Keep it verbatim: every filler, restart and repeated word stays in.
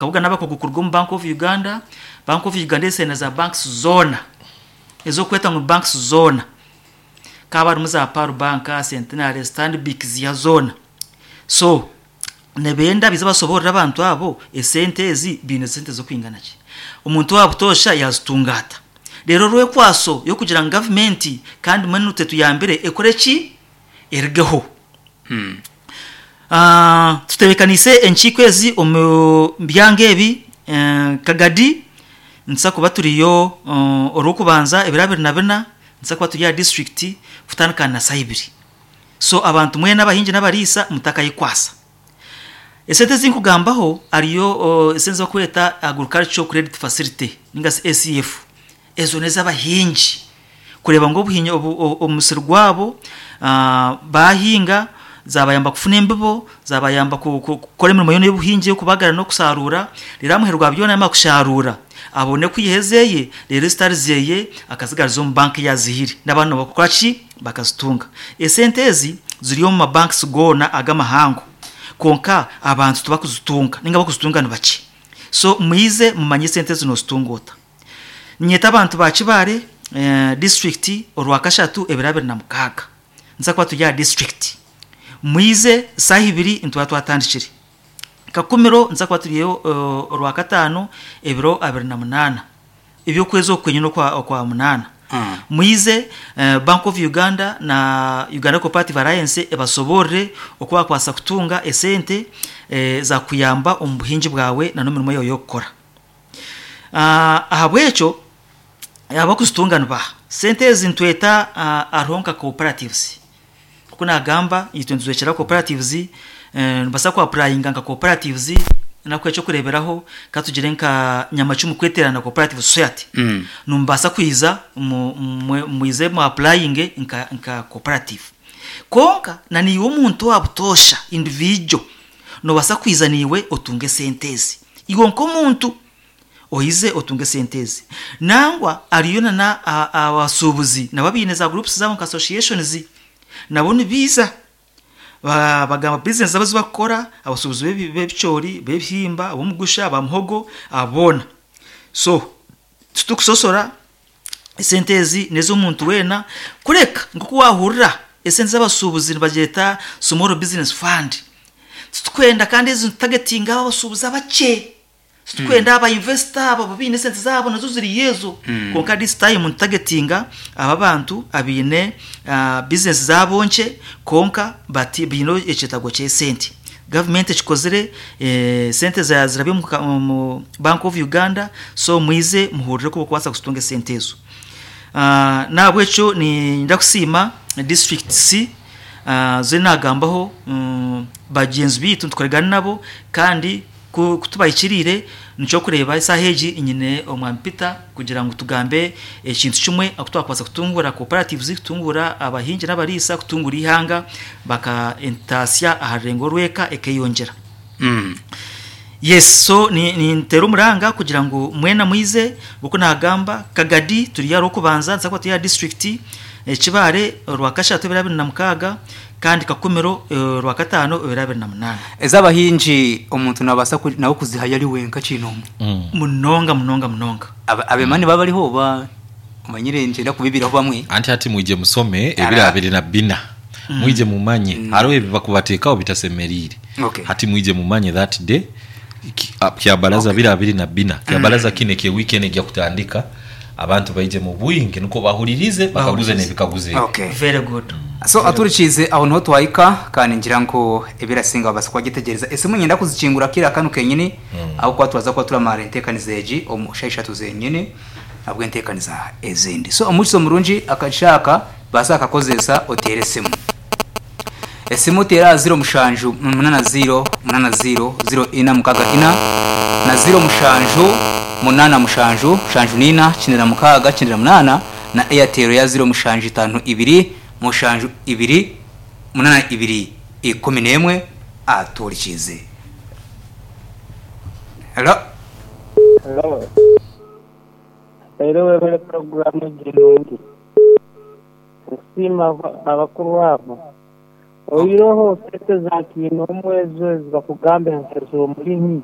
Kabuga n'abakugu kuruga omu Bank of Uganda. Bank of Uganda esente za banks zoona ez'okweta ngu banks zoona, kaba harimu za Pearl Bank, Centenary, Stanbic, ziya zoona. So nibenda bize basoborere abantu abo esente ezi biine sente z'okwingana ki, omuntu wa butoosha yazitunga ata. Reero rwekwaso y'okugira ngu gavumenti kandi mbwenu tetuyambire ekore ki, erugeho. Ah, tutebekaniise enkiiko ezi omu byanga ebi: eh, Kagadi nituza kuba turiyo uh, orw'okubanza ebiro abiri na bina, nituza kuba turi aha district kutandika na saa ibiri. So abantu mwena abahingi n'abariisa mutakayikwasa. Esente ezinkugambaho hariyo uh, esente zibakweta Agricultural Credit Facility ninga se A C F. Ezo n'ez'abahingi kureeba ngu obuhingi obu- o- omusiri gwabo uh, bahinga, zabayamba kufuna embibo, zabayamba ku- ku- kukora emirimo yoona y'obuhingi, y'okubagara n'okusarura. Reero aha muheru gwa byona, yamara kusharura, abone kwiha ezeye, reero ezitari zeye akazigariza omu banka eyazihire, n'abandi nibakora ki, bakazitunga. Esente ezi ziri omu mabanks goona ag'amahango, konka abantu tibakuzitunga ninga bakuzitunga ni bakye. So mwize mumanye esente zino ozitunga ota. Nyeta abantu ba Kibaare eh, district, orwakashatu ebiro abiri na mukaaga, nza kuba turi aha district. Mwize, saaha ibiri nituba twatandikire. Kakumiro nza kuba turiyo uh, orwakataano ebiro abiri na munaana ebyokwezi okwenye n'okwa okwa munaana. Mm. Mwize, uh, Bank of Uganda na Uganda Cooperative Alliance ebasoborere oku bakwasa kutunga esente eh, zakuyamba omu buhingi bwawe na n'emirimo yawe y'okukora. uh, ahabwekyo abakuzitunga nibaha sente ezi? Nitweta uh, hariho nka cooperatives. Kuko nagamba itwe nituzwekyera cooperatives, eh, nibasa ku applyinga nka cooperatives. Nakuha ekyokureeberaho, katugire nka Nyamacumu Kweterana Cooperative Society. Mm. Nimubasa kwiza mu- mwe- mwize mu applyinge nka, nka cooperative. Konka na niiwe omuntu wa butoosha, individual, nobasa kwiza niiwe otunge sente ezi. Iwe nk'omuntu oyize otunge sente ezi. Nangwa ariyo nana a- abasuubuzi nabo biine za groups zabo nka associations, nabo nibiiza Ba- bagamba business zabo zibakukora, abasuubuzi b'ebi- b'ebicoori, b'ebihimba, ab'omugusha, abamuhogo, aboona. So titukusosora, esente ezi nez'omuntu weena. Kureka nk'oku wahurira esente z'abasuubuzi nibagyeta Small Business Fund, titukwenda kandi ezi nitutargetinga abo abasuubuzi abakye. Titukwenda aba investor abo biine esente zaabo, nazo ziriyo ezo. Konka this time nitutargetinga aba bantu abiine uh, business zabo nkye, konka bati biine ekyetago ky'esente. Gavumenti ekikozire, eh, sente za- zirabye omu ka- omu Bank of Uganda. So mwize muhurire ko bokubaasa kuzitunga esente ezo. uh, nahabwekyo ninda kusiima district C uh, ze nagambaho, um, bagyenzi biitu nitukoregana nabo, kandi ku kutubahikiriire nikyo kureba esaaha egi nyine omwami Peter kugira ngu tugambe ekintu kimwe aku twakubaasa kutungura cooperatives, kutungura abahingi n'abariisa, kutungura ihanga, baka entasya aha rurengo rw'eka ekeyongyera. Mm. Yes, so ni nintera omuranga kugira ngu mwena mwize. Uko nagamba, Kagadi turi yaro kubanza, nza kuba turi ya district, Ekibare orwakashatu ebiro abiri na mukaaga, kandi Kakumiro eh, orwakataano ebiro abiri na munaana. Ez'abahingi omuntu nabaasa ku- nawe kuzihayo ari wenka kinomwe? Munonga, munonga, munonga. Aba- abemani baba bariho ba omanyire ngyenda kubibiraho bamwe. Anti ati mwije musome ebiro Ara. abiri na bina, mwije mumanye hariho ebi bakubateekaho bitasemeriire. Okay. Hati mwije mumanye that day ki- ah, kyabaraza biro abiri na bina, kyabaraza kine kye weekend ejya kutandika. Abantu baije mu bwingi niko bahuririze, bakaguze n'ebikaguze ebi. Okay. Very good. So aturikize aho niho twahika, kandi ngira ngo ebirasinga babasa kubagitegereza. Esimu nyenda kuzikingura kira kanu kenyini, aho kuba turaza kuba turamara entekaniza egi omu shaha ishatu zenyini nabwo entekaniza ezindi. So omukizo murungi akashaka basa akakozesa, otere esimu. Esimu tera ziro mushanju munana ziro munana ziro ziro ina mukaga ina na ziro mushanju munana mushanju mushanju nina kyenda na mukaaga kyenda na munana, na Airtel ya ziro mushanju itano ibiri mushanju ibiri munana ibiri ikumi n'emwe. Aturikize. Hello. Hello. Leero webale puroguramu egi nungi. Nkusiima aba- abakuru abo. Oiroho sente za kiina omwezo ezi bakugamba nti ez'omulimi.